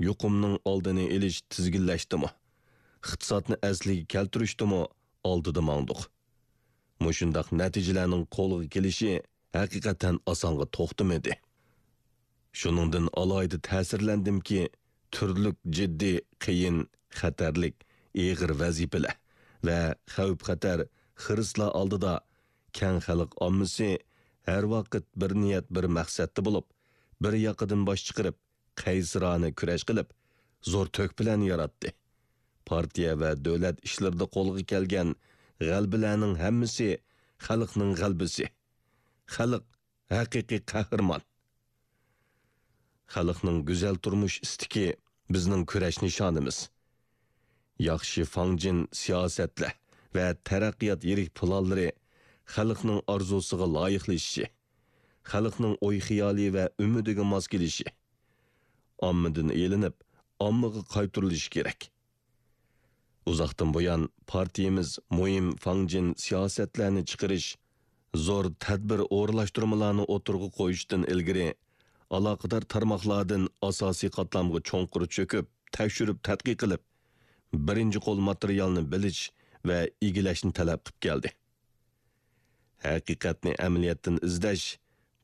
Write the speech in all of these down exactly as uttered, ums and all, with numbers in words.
يۇقۇمنىڭ ئالدىنى ئېلىش، تىزگىنلەشتىمۇ، ئىقتىسادنى ئەسلىگە كەلتۈرۈشتىمۇ ئالدىدا ماڭدۇق. مۇشۇنداق نەتىجىلەرنىڭ قولغا كېلىشى ھەقىقەتەن ئاسانغا توختىمىدى. شۇنىڭدىن ئالاھىدە تەسىرلەندىمكى، تۈرلۈك جىددىي، قىيىن، خەتەرلىك، ئېغىر ۋەزىپىلەر ۋە خەۋپ-خەتەر، خىرىسلار ئالدىدا كەڭ خەلق ئاممىسى ھەر ۋاقىت بىر نىيەت، بىر مەقسەتتە بولۇپ، بىر ياقىدىن باش چىقىرىپ، قەيسىرانە كۈرەش قىلىپ، زور تۆھپىلەرنى ياراتتى. پارتىيە ۋە دۆلەت ئىشلىرىدا قولغا كەلگەن غەلىبىلەرنىڭ ھەممىسى خەلقنىڭ غەلىبىسى. خەلق ھەقىقىي قەھرىمان. خەلقنىڭ گۈزەل تۇرمۇش ئىستىكى بىزنىڭ كۈرەش نىشانىمىز. ياخشى فاڭجېن سىياسەتلەر ۋە تەرەققىيات يىرىك پىلانلىرى خەلقنىڭ ئارزۇسىغا لايىقلىشىشى، خەلقنىڭ ئوي-خىيالى ۋە ئۈمىدىگە ماس كېلىشى، ئاممىدىن ئېلىنىپ، ئاممىغا قايتۇرۇلۇشى كېرەك. ئۇزاقتىن بۇيان پارتىيىمىز مۇھىم فاڭجېن سىياسەتلەرنى چىقىرىش، زور تەدبىر ئورۇنلاشتۇرمىلارنى ئوتتۇرىغا قويۇشتىن ئىلگىرى، ئالاقىدار تارماقلاردىن ئاساسىي قاتلامغا چوڭقۇر چۆكۈپ، تەكشۈرۈپ تەتقىق قىلىپ، بىرىنچى قول ماتېرىيالنى بىلىش ۋە ئىگىلەشنى تەلەپ قىلىپ كەلدى. ھەقىقەتنى ئەمەلىيەتتىن ئىزدەش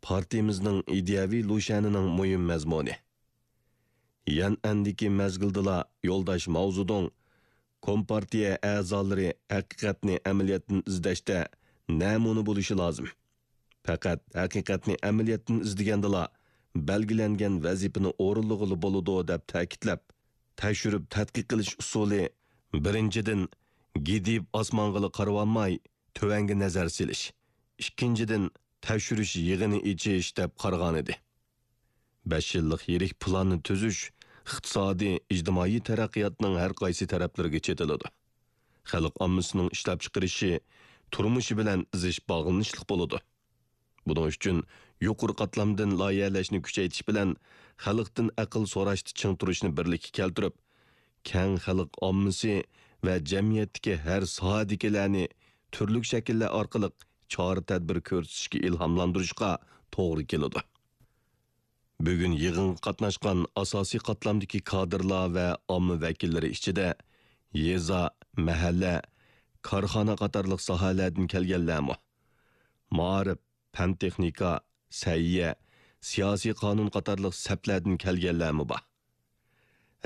پارتىيىمىزنىڭ ئىدىيەۋى لۇشيەنىنىڭ مۇھىم مەزمۇنى. يەنئەندىكى مەزگىلدىلا يولداش ماۋزېدۇڭ، كومپارتىيە ئەزالىرى ھەقىقەتنى ئەمەلىيەتتىن ئىزدەشتە نەمۇنە بولۇشى لازىم. پەقەت ھەقىقەتنى ئەمەلىيەتتىن ئىزدىگەندىلا بەلگىلەنگەن ۋەزىپىنى ئورۇنلىغىلى بولىدۇ، دەپ تەكىتلەپ، تەكشۈرۈپ تەتقىق قىلىش ئۇسۇلى، بىرىنچىدىن، گىدىپ ئاسمانغىلا قارىۋالماي، تۆۋەنگە نەزەر سېلىش، ئىككىنچىدىن، تەكشۈرۈش يىغىنى ئېچىش دەپ قارىغانىدى. بەش يىللىق يىرىك پىلاننى تۈزۈش ئىقتىسادىي، ئىجتىمائىي تەرەققىياتنىڭ ھەر قايسى تەرەپلىرىگە چېتىلىدۇ. خەلق ئاممىسىنىڭ ئىشلەپچىقىرىشى، تۇرمۇشى بىلەن زىچ باغلىنىشلىق بولىدۇ. بۇنىڭ ئۈچۈن يۇقىرى قاتلامدىن لايىھەلەشنى كۈچەيتىش بىلەن خەلقتىن ئەقىل سوراشتا چىڭ تۇرۇشنى بىرلىككە كەلتۈرۈپ، كەڭ خەلق ئاممىسى ۋە جەمئىيەتتىكى ھەر ساھەدىكىلەرنى تۈرلۈك شەكىللەر ئارقىلىق چارە-تەدبىر كۆرسىتىشكە ئىلھاملاندۇرۇشقا توغرا كېلىدۇ. بۈگۈن يىغىنغا قاتناشقان ئاساسىي قاتلامدىكى كادىرلار ۋە ئامما ۋەكىللىرى ئىچىدە يېزا، مەھەللە، كارخانا قاتارلىق ساھەلەردىن كەلگەنلەرمۇ، مائارىپ، پەن-تېخنىكا، سەھىيە، سىياسىي قانۇن قاتارلىق سەپلەردىن كەلگەنلەرمۇ بار.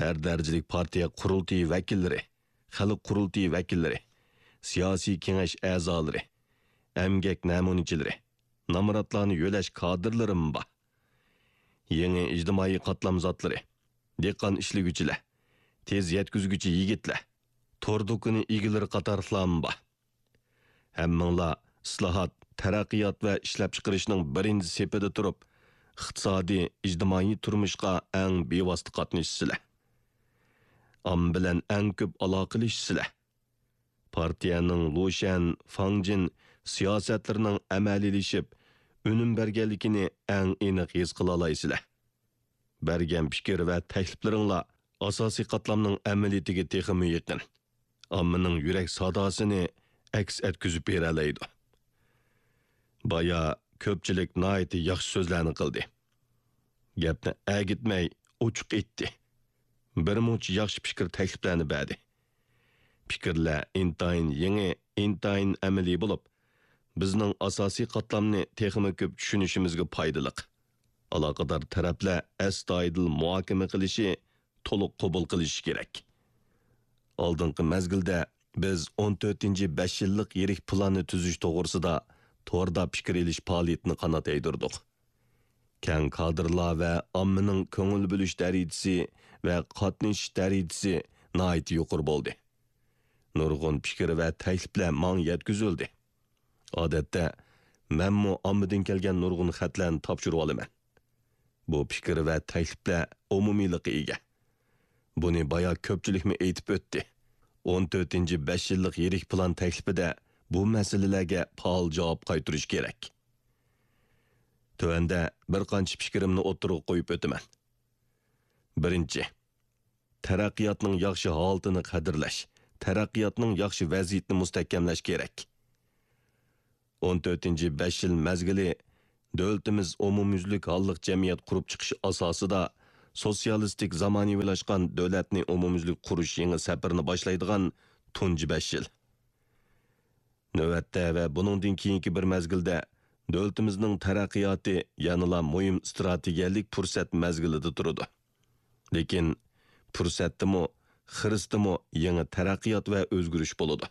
ھەر دەرىجىلىك پارتىيە قۇرۇلتىيى ۋەكىللىرى، خەلق قۇرۇلتىيى ۋەكىللىرى، سىياسىي كېڭەش ئەزالىرى، ئەمگەك نەمۇنىچىلىرى، نامراتلارنى يۆلەش كادىرلىرىمۇ بار. يېڭى ئىجتىمائىي قاتلام زاتلىرى، دېھقان ئىشلىگۈچىلەر، تېز يەتكۈزگۈچى يىگىتلەر، تور دۇكىنى ئىگىلىرى قاتارلىقلارمۇ بار. ھەممىڭلار ئىسلاھات، تەرەققىيات ۋە ئىشلەپچىقىرىشنىڭ بىرىنچى سېپىدە تۇرۇپ، ئىقتىسادىي، ئىجتىمائىي تۇرمۇشقا ئەڭ بىۋاسىتە قاتنىشىسىلەر. ئامما بىلەن ئەڭ كۆپ ئالاقىلىشىسىلەر. پارتىيەنىڭ لۇشيەن، فاڭجېن سىياسەتلىرىنىڭ ئەمەلىيلىشىپ، ئۈنۈم بەرگەنلىكىنى ئەڭ ئېنىق ھېس قىلالايسىلەر. بەرگەن پىكىر ۋە تەكلىپلىرىڭلار ئاساسىي قاتلامنىڭ ئەمەلىيىتىگە تېخىمۇ يېقىن، ئاممىنىڭ يۈرەك ساداسىنى ئەكس ئەتكۈزۈپ بېرەلەيدۇ. بايا كۆپچىلىك ناھايىتى ياخشى سۆزلەرنى قىلدى. گەپنى ئەگىتمەي ئوچۇق ئېيتتى. بىرمۇنچە ياخشى پىكىر تەكلىپلەرنى بەردى. پىكىرلەر ئىنتايىن يېڭى، ئىنتايىن ئەمەلىي بولۇپ، بىزنىڭ ئاساسىي قاتلامنى تېخىمۇ كۆپ چۈشىنىشىمىزگە پايدىلىق. ئالاقىدار تەرەپلەر ئەستايىدىل مۇھاكىمە قىلىشى، تولۇق قوبۇل قىلىشى كېرەك. ئالدىنقى مەزگىلدە بىز ئون تۆتىنچى بەش يىللىق يىرىك پىلاننى تۈزۈش توغرىسىدا توردا پىكىر ئېلىش پائالىيىتىنى قانات يايدۇردۇق. كەڭ كادىرلار ۋە ئاممىنىڭ كۆڭۈل بۆلۈش دەرىجىسى ۋە قاتنىشىش دەرىجىسى ناھايىتى يۇقىرى بولدى. نۇرغۇن پىكىر ۋە تەكلىپلەر ماڭا يەتكۈزۈلدى. ئادەتتە، مەنمۇ ئاممىدىن كەلگەن نۇرغۇن خەتلەرنى تاپشۇرۇۋالىمەن. بۇ پىكىر ۋە تەكلىپلەر ئومۇمىيلىققا ئىگە. بۇنى بايا كۆپچىلىكمۇ ئېيتىپ ئۆتتى. ئون تۆتىنچى بەش يىللىق يىرىك پىلان تەكلىپىدە بۇ مەسىلىلەرگە پائال جاۋاب قايتۇرۇش كېرەك. تۆۋەندە بىر قانچە پىكرىمنى ئوتتۇرىغا قويۇپ ئۆتىمەن. بىرىنچى، تەرەققىياتنىڭ ياخشى ھالىتىنى قەدىرلەش، تەرەققىياتنىڭ ياخشى ۋەزىيىتىنى مۇستەھكەملەش كېرەك. ئون تۆتىنچى بەش يىل مەزگىلى دۆلىتىمىز ئومۇميۈزلۈك ھاللىق جەمئىيەت قۇرۇپ چىقىش ئاساسىدا سوتسىيالىستىك زامانىۋىلاشقان دۆلەتنى ئومۇميۈزلۈك قۇرۇش يېڭى سەپىرىنى باشلايدىغان تۇنجى بەش يىل. نۆۋەتتە ۋە بۇنىڭدىن كېيىنكى بىر مەزگىلدە دۆلىتىمىزنىڭ تەرەققىياتى يەنىلا مۇھىم ئىستراتېگىيەلىك پۇرسەت مەزگىلىدە تۇرىدۇ. لېكىن پۇرسەتتىمۇ، خىرىستىمۇ يېڭى تەرەققىيات ۋە ئۆزگىرىش بولىدۇ.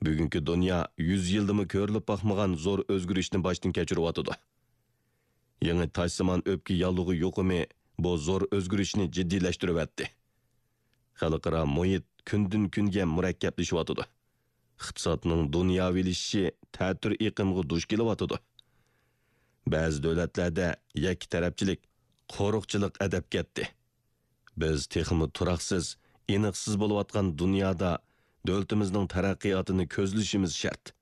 بۈگۈنكى دۇنيا يۈز يىلدىمۇ كۆرۈلۈپ باقمىغان زور ئۆزگىرىشنى باشتىن كەچۈرۈۋاتىدۇ. يېڭى تاجسىمان ئۆپكە ياللۇغى يۇقۇمى بۇ زور ئۆزگىرىشنى جىددىيلەشتۈرۈۋەتتى. خەلقئارا مۇھىت كۈندىن-كۈنگە مۇرەككەپلىشىۋاتىدۇ. ئىقتىسادنىڭ دۇنياۋىلىشىشى تەتۈر ئېقىمغا دۇچ كېلىۋاتىدۇ. بەزى دۆلەتلەردە يەككە تەرەپچىلىك، قورۇقچىلىق ئەدەپ كەتتى. بىز تېخىمۇ تۇراقسىز، ئېنىقسىز بولۇۋاتقان دۇنيادا دۆلىتىمىزنىڭ تەرەققىياتىنى كۆزلىشىمىز شەرت.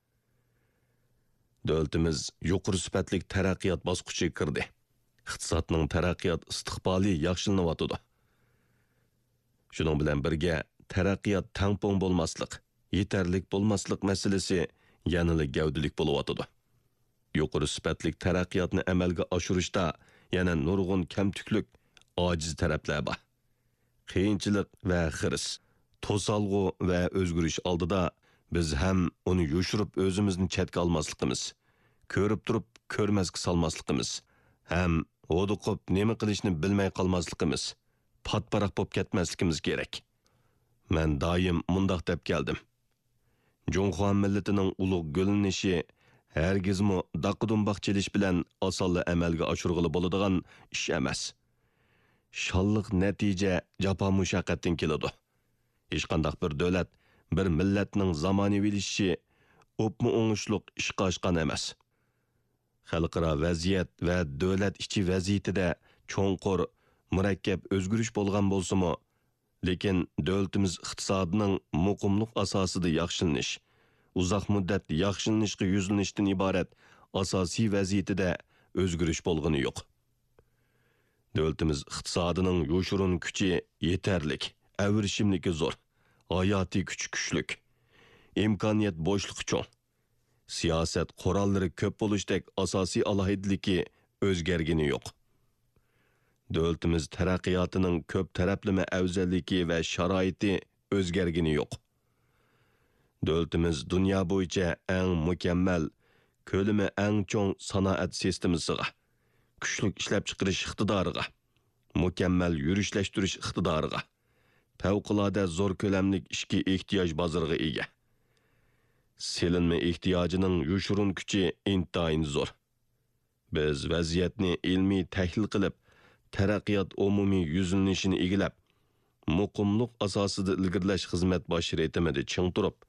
دۆلىتىمىز يۇقىرى سۈپەتلىك تەرەققىيات باسقۇچىغا كىردى. ئىقتىسادنىڭ تەرەققىيات ئىستىقبالى ياخشىلىنىۋاتىدۇ. شۇنىڭ بىلەن بىرگە، تەرەققىيات تەڭپۇڭ بولماسلىق، يېتەرلىك بولماسلىق مەسىلىسى يەنىلا گەۋدىلىك بولۇۋاتىدۇ. يۇقىرى سۈپەتلىك تەرەققىياتنى ئەمەلگە ئاشۇرۇشتا يەنە نۇرغۇن كەمتۈكلۈك، ئاجىز تەرەپلەر بار. قىيىنچىلىق ۋە خىرىس، توسالغۇ ۋە ئۆزگىرىش ئالدىدا بىز ھەم ئۇنى يوشۇرۇپ ئۆزىمىزنى چەتكە ئالماسلىقىمىز، كۆرۈپ تۇرۇپ كۆرمەسكە سالماسلىقىمىز، ھەم ھودۇقۇپ نېمە قىلىشنى بىلمەي قالماسلىقىمىز، پاتپاراق بولۇپ كەتمەسلىكىمىز كېرەك. مەن دائىم مۇنداق دەپ كەلدىم. جۇڭخۇا مىللىتىنىڭ ئۇلۇغ گۈللىنىشى ھەرگىزمۇ داققا-دۇمباق چېلىش بىلەن ئاسانلا ئەمەلگە ئاشۇرغىلى بولىدىغان ئىش ئەمەس. شانلىق نەتىجە جاپا-مۇشەققەتتىن كېلىدۇ. ھېچقانداق بىر دۆلەت، بىر مىللەتنىڭ زامانىۋىلىشىشى ئوپمۇ ئوڭۇشلۇق ئىشقا ئاشقان ئەمەس. خەلقئارا ۋەزىيەت ۋە دۆلەت ئىچى ۋەزىيىتىدە چوڭقۇر، مۇرەككەپ ئۆزگىرىش بولغان بولسىمۇ، لېكىن دۆلىتىمىز ئىقتىسادىنىڭ مۇقىملىق ئاساسىدا ياخشىلىنىش، ئۇزاق مۇددەت ياخشىلىنىشقا يۈزلىنىشتىن ئىبارەت ئاساسىي ۋەزىيىتىدە ئۆزگىرىش بولغىنى يوق. دۆلىتىمىز ئىقتىسادىنىڭ يوشۇرۇن كۈچى يېتەرلىك، ئەۋرىشىملىكى زور، ھاياتىي كۈچى كۈچلۈك، ئىمكانىيەت بوشلۇقى چوڭ، سىياسەت قوراللىرى كۆپ بولۇشتەك ئاساسىي ئالاھىدىلىكى ئۆزگەرگىنى يوق. دۆلىتىمىز تەرەققىياتىنىڭ كۆپ تەرەپلىمە ئەۋزەللىكى ۋە شارائىتى ئۆزگەرگىنى يوق. دۆلىتىمىز دۇنيا بويىچە ئەڭ مۇكەممەل، كۆلىمى ئەڭ چوڭ سانائەت سىستېمىسىغا، كۈچلۈك ئىشلەپچىقىرىش ئىقتىدارىغا، مۇكەممەل يۈرۈشلەشتۈرۈش ئىقتىدارىغا، پەۋقۇلئاددە زور كۆلەملىك ئىچكى ئېھتىياج بازىرىغا ئىگە. سېلىنما ئېھتىياجىنىڭ يوشۇرۇن كۈچى ئىنتايىن زور. بىز ۋەزىيەتنى ئىلمىي تەھلىل قىلىپ، تەرەققىيات ئومۇمىي يۈزلىنىشىنى ئىگىلەپ، مۇقىملىق ئاساسىدا ئىلگىرىلەش خىزمەت باش رىتىمىدا چىڭ تۇرۇپ،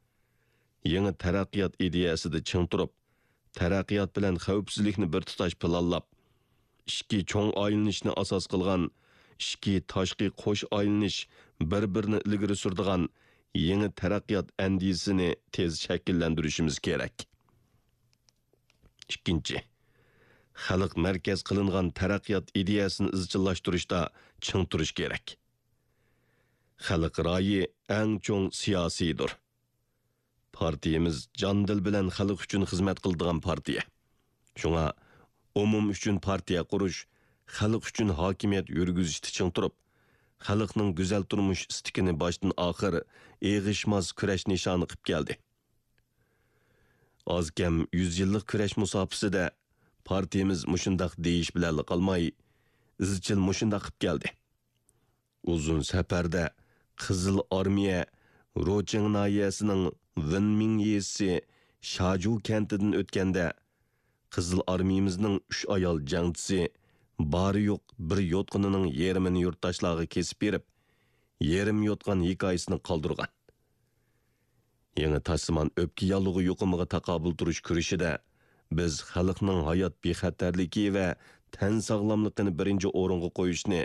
يېڭى تەرەققىيات ئىدىيەسىدە چىڭ تۇرۇپ، تەرەققىيات بىلەن خەۋپسىزلىكنى بىر تۇتاش پىلانلاپ، ئىچكى چوڭ ئايلىنىشنى ئاساس قىلغان ئىچكى تاشقى قوش ئايلىنىش بىر-بىرىنى ئىلگىرى سۈرىدىغان يېڭى تەرەققىيات ئەندىزىسىنى تېز شەكىللەندۈرۈشىمىز كېرەك. ئىككىنچى، خەلق مەركەز قىلىنغان تەرەققىيات ئىدىيەسىنى ئىزچىللاشتۇرۇشتا چىڭ تۇرۇش كېرەك. خەلق رايى ئەڭ چوڭ سىياسىيدۇر. پارتىيىمىز جان-دىل بىلەن خەلق ئۈچۈن خىزمەت قىلىدىغان پارتىيە. شۇڭا ئومۇم ئۈچۈن پارتىيە قۇرۇش، خەلق ئۈچۈن ھاكىمىيەت يۈرگۈزۈشتە چىڭ تۇرۇپ، خەلقنىڭ گۈزەل تۇرمۇش ئىستىكىنى باشتىن ئاخىر ئېغىشماس كۈرەش نىشانى قىپ كەلدى. ئاز-كەم يۈز يىللىق كۈرەش مۇساپىسىدە پارتىيىمىز مۇشۇنداق دېيىش بىلەنلا قالماي، ئىزچىل مۇشۇنداق قىپ كەلدى. ئۇزۇن سەپەردە قىزىل ئارمىيە روچىڭ ناھىيەسىنىڭ ۋېنمىڭ يېزىسى شاجۇ كەنتىدىن ئۆتكەندە، قىزىل ئارمىيىمىزنىڭ ئۈچ ئايال جەڭچىسى بارى يوق بىر يوتقىنىنىڭ يېرىمىنى يۇرتداشلارغا كېسىپ بېرىپ، يېرىم يوتقان ھېكايىسىنى قالدۇرغان. يېڭى تاشسىمان ئۆپكە ياللۇغى يۇقۇمىغا تاقابىل تۇرۇش كۈرىشىدە بىز خەلقنىڭ ھايات بىخەتەرلىكى ۋە تەن ساغلاملىقىنى بىرىنچى ئورۇنغا قويۇشنى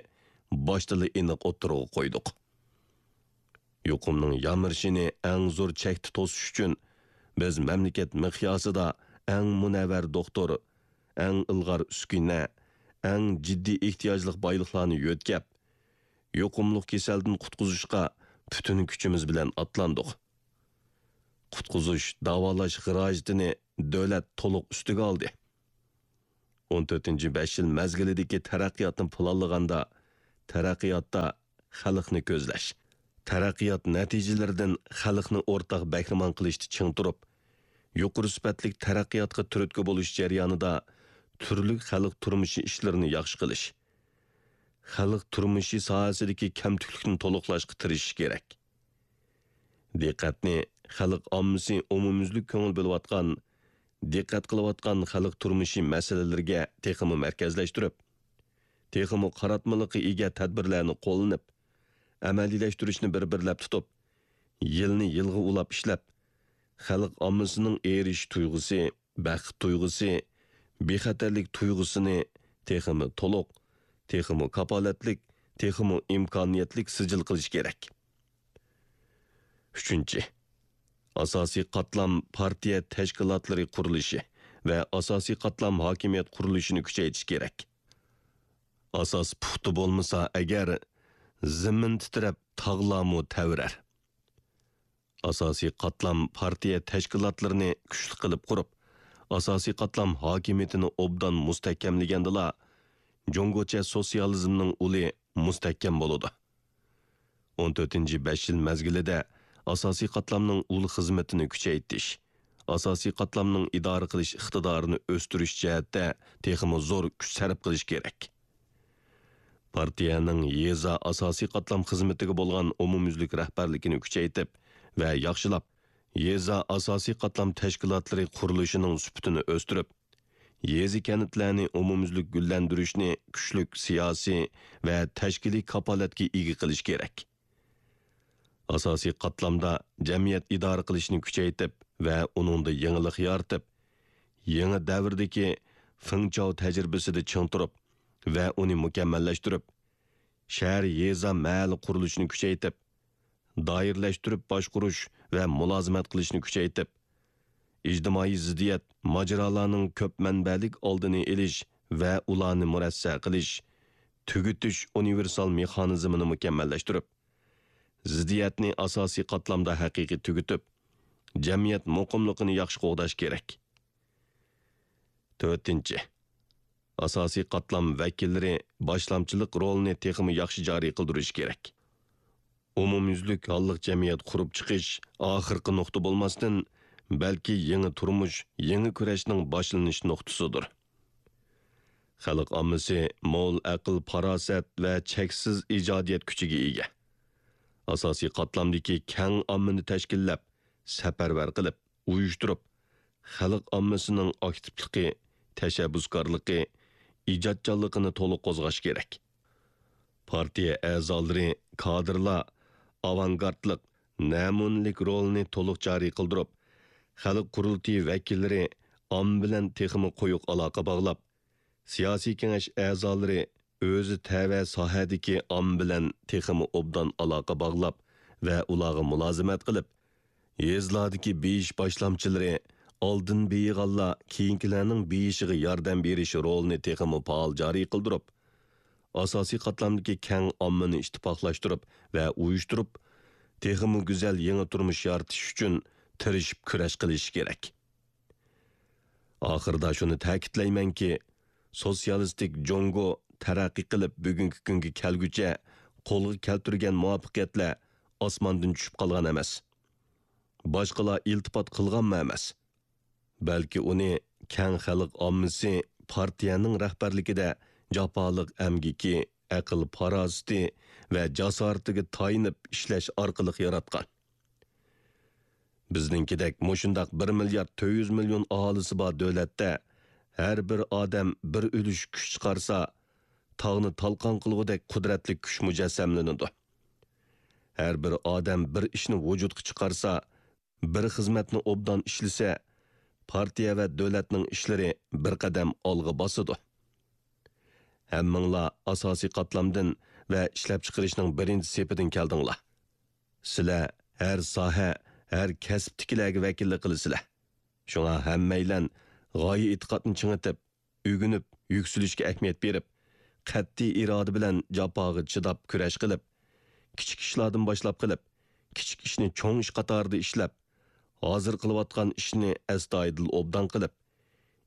باشتىلا ئېنىق ئوتتۇرىغا قويدۇق. يۇقۇمنىڭ يامرىشىنى ئەڭ زور چەكتە توسۇش ئۈچۈن بىز مەملىكەت مىقياسىدا ئەڭ مۇنەۋۋەر دوختۇر، ئەڭ ئىلغار ئۈسكۈنە، ئەڭ جىددىي ئېھتىياجلىق بايلىقلارنى يۆتكەپ، يۇقۇملۇق كېسەلدىن قۇتقۇزۇشقا پۈتۈن كۈچىمىز بىلەن ئاتلاندۇق. قۇتقۇزۇش، داۋالاش خىراجىتىنى دۆلەت تولۇق ئۈستىگە ئالدى. ئون تۆتىنچى بەش يىل مەزگىلىدىكى تەرەققىياتنى پىلانلىغاندا، تەرەققىياتتا خەلقنى كۆزلەش، تەرەققىيات نەتىجىلىرىدىن خەلقنى ئورتاق بەھرىمەن قىلىشتا چىڭ تۇرۇپ، يۇقىرى سۈپەتلىك تەرەققىياتقا تۈرتكە بولۇش جەريانىدا تۈرلۈك خەلق تۇرمۇشى ئىشلىرىنى ياخشى قىلىش، خەلق تۇرمۇشى ساھەسىدىكى كەمتۈكلۈكنى تولۇقلاشقا تىرىشىش كېرەك. دىققەتنى خەلق ئاممىسى ئومۇميۈزلۈك كۆڭۈل بۆلۈۋاتقان، دىققەت قىلىۋاتقان خەلق تۇرمۇشى مەسىلىلىرىگە تېخىمۇ مەركەزلەشتۈرۈپ، تېخىمۇ قاراتمىلىققا ئىگە تەدبىرلەرنى قوللىنىپ، ئەمەلىيلەشتۈرۈشنى بىر-بىرلەپ تۇتۇپ، يىلنى يىلغا ئۇلاپ ئىشلەپ، خەلق ئاممىسىنىڭ ئېرىشىش تۇيغۇسى، بەخت تۇيغۇسى، بىخەتەرلىك تۇيغۇسىنى تېخىمۇ تولۇق، تېخىمۇ كاپالەتلىك، تېخىمۇ ئىمكانىيەتلىك سىجىل قىلىش كېرەك. ئۈچىنچى، ئاساسىي قاتلام پارتىيە تەشكىلاتلىرى قۇرۇلۇشى ۋە ئاساسىي قاتلام ھاكىمىيەت قۇرۇلۇشىنى كۈچەيتىش كېرەك. ئاساس پۇختا بولمىسا ئەگەر، زېمىن تىترەپ، تاغلارمۇ تەۋرەر. ئاساسىي قاتلام پارتىيە تەشكىلاتلىرىنى كۈچلۈك قىلىپ قۇرۇپ، ئاساسىي قاتلام ھاكىمىيىتىنى ئوبدان مۇستەھكەملىگەندىلا، جۇڭگوچە سوتسىيالىزمنىڭ ئۇلى مۇستەھكەم بولىدۇ. ئون تۆتىنچى بەش يىل مەزگىلىدە ئاساسىي قاتلامنىڭ ئۇل خىزمىتىنى كۈچەيتىش، ئاساسىي قاتلامنىڭ ئىدارە قىلىش ئىقتىدارىنى ئۆستۈرۈش جەھەتتە تېخىمۇ زور كۈچ سەرپ قىلىش كېرەك. پارتىيەنىڭ يېزا ئاساسىي قاتلام خىزمىتىگە بولغان ئومۇميۈزلۈك رەھبەرلىكىنى كۈچەيتىپ ۋە ياخشىلاپ، يېزا ئاساسىي قاتلام تەشكىلاتلىرى قۇرۇلۇشىنىڭ سۈپىتىنى ئۆستۈرۈپ، يېزا-كەنتلەرنى ئومۇميۈزلۈك گۈللەندۈرۈشنى كۈچلۈك سىياسىي ۋە تەشكىلىي كاپالەتكە ئىگە قىلىش كېرەك. ئاساسىي قاتلامدا جەمئىيەت ئىدارە قىلىشنى كۈچەيتىپ ۋە ئۇنىڭدا يېڭىلىق يارىتىپ، يېڭى دەۋردىكى فېڭچاۋ تەجرىبىسىدە چىڭ تۇرۇپ ۋە ئۇنى مۇكەممەللەشتۈرۈپ، شەھەر، يېزا، مەھەللە قۇرۇلۇشىنى كۈچەيتىپ، دائىرىلەشتۈرۈپ باشقۇرۇش ۋە مۇلازىمەت قىلىشنى كۈچەيتىپ، ئىجتىمائىي زىددىيەت، ماجىرالارنىڭ كۆپ مەنبەلىك ئالدىنى ئېلىش ۋە ئۇلارنى مۇرەسسە قىلىش، تۈگىتىش ئۇنىۋېرسال مېخانىزمىنى مۇكەممەللەشتۈرۈپ، زىددىيەتنى ئاساسىي قاتلامدا ھەقىقىي تۈگىتىپ، جەمئىيەت مۇقىملىقىنى ياخشى قوغداش كېرەك. تۆتىنچى، ئاساسىي قاتلام ۋەكىللىرى باشلامچىلىق رولىنى تېخىمۇ ياخشى جارى قىلدۇرۇشى كېرەك. ئومۇميۈزلۈك ھاللىق جەمئىيەت قۇرۇپ چىقىش ئاخىرقى نۇقتا بولماستىن، بەلكى يېڭى تۇرمۇش، يېڭى كۈرەشنىڭ باشلىنىش نۇقتىسىدۇر. خەلق ئاممىسى مول ئەقىل-پاراسەت ۋە چەكسىز ئىجادىيەت كۈچىگە ئىگە. ئاساسىي قاتلامدىكى كەڭ ئاممىنى تەشكىللەپ، سەپەرۋەر قىلىپ، ئۇيۇشتۇرۇپ، خەلق ئاممىسىنىڭ ئاكتىپلىقى، تەشەببۇسكارلىقى، ئىجادچانلىقىنى تولۇق قوزغاش كېرەك. پارتىيە ئەزالىرى، كادىرلار ئاۋانگارتلىق، نەمۇنىلىك رولىنى تولۇق جارى قىلدۇرۇپ، خەلق قۇرۇلتىيى ۋەكىللىرى ئامما بىلەن تېخىمۇ قويۇق ئالاقە باغلاپ، سىياسىي كېڭەش ئەزالىرى ئۆزى تەۋە ساھەدىكى ئامما بىلەن تېخىمۇ ئوبدان ئالاقە باغلاپ ۋە ئۇلارغا مۇلازىمەت قىلىپ، يېزىلاردىكى بېيىش باشلامچىلىرى، ئالدىن بېيىغانلار كېيىنكىلەرنىڭ بېيىشىغا ياردەم بېرىش رولىنى تېخىمۇ پائال جارى قىلدۇرۇپ، ئاساسىي قاتلامدىكى كەڭ ئاممىنى ئىتتىپاقلاشتۇرۇپ ۋە ئۇيۇشتۇرۇپ، تېخىمۇ گۈزەل يېڭى تۇرمۇش يارىتىش ئۈچۈن تىرىشىپ كۈرەش قىلىشى كېرەك. ئاخىرىدا شۇنى تەكىتلەيمەنكى، سوتسىيالىستىك جۇڭگو تەرەققىي قىلىپ بۈگۈنكى كۈنگە كەلگۈچە قولغا كەلتۈرگەن مۇۋەپپەقىيەتلەر ئاسماندىن چۈشۈپ قالغان ئەمەس. باشقىلار ئىلتىپات قىلغانمۇ ئەمەس. بەلكى ئۇنى كەڭ خەلق ئاممىسى پارتىيەنىڭ رەھبەرلىكىدە جاپالىق ئەمگىكى، ئەقىل-پاراسىتى ۋە جاسارىتىگە تايىنىپ ئىشلەش ئارقىلىق ياراتقان. بىزنىڭكىدەك مۇشۇنداق بىر مىليارد تۆت يۈز مىليون ئاھالىسى بار دۆلەتتە ھەر بىر ئادەم بىر ئۈلۈش كۈچ چىقارسا، تاغنى تالقان قىلغۇدەك قۇدرەتلىك كۈچ مۇجەسسەملىنىدۇ. ھەر بىر ئادەم بىر ئىشنى ۋۇجۇدقا چىقارسا، بىر خىزمەتنى ئوبدان ئىشلىسە، پارتىيە ۋە دۆلەتنىڭ ئىشلىرى بىر قەدەم ئالغا باسىدۇ. ھەممىڭلار ئاساسىي قاتلامدىن ۋە ئىشلەپچىقىرىشنىڭ بىرىنچى سېپىدىن كەلدىڭلار. سىلەر ھەر ساھە، ھەر كەسىپتىكىلەرگە ۋەكىللىك قىلىسىلەر. شۇڭا ھەممەيلەن غايە-ئېتىقادنى چىڭىتىپ، ئۆگىنىپ، يۈكسىلىشكە ئەھمىيەت بېرىپ، قەتئىي ئىرادە بىلەن جاپاغا چىداپ كۈرەش قىلىپ، كىچىك ئىشلاردىن باشلاپ قىلىپ، كىچىك ئىشنى چوڭ ئىش قاتارىدا ئىشلەپ، ھازىر قىلىۋاتقان ئىشنى ئەستايىدىل ئوبدان قىلىپ،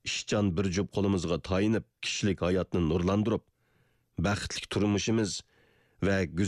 ئىشچان بىر جۈپ قولىمىزغا تايىنىپ، كىشىلىك ھاياتنى نۇرلاندۇرۇپ، بەختلىك تۇرمۇشىمىز ۋە گۈزەل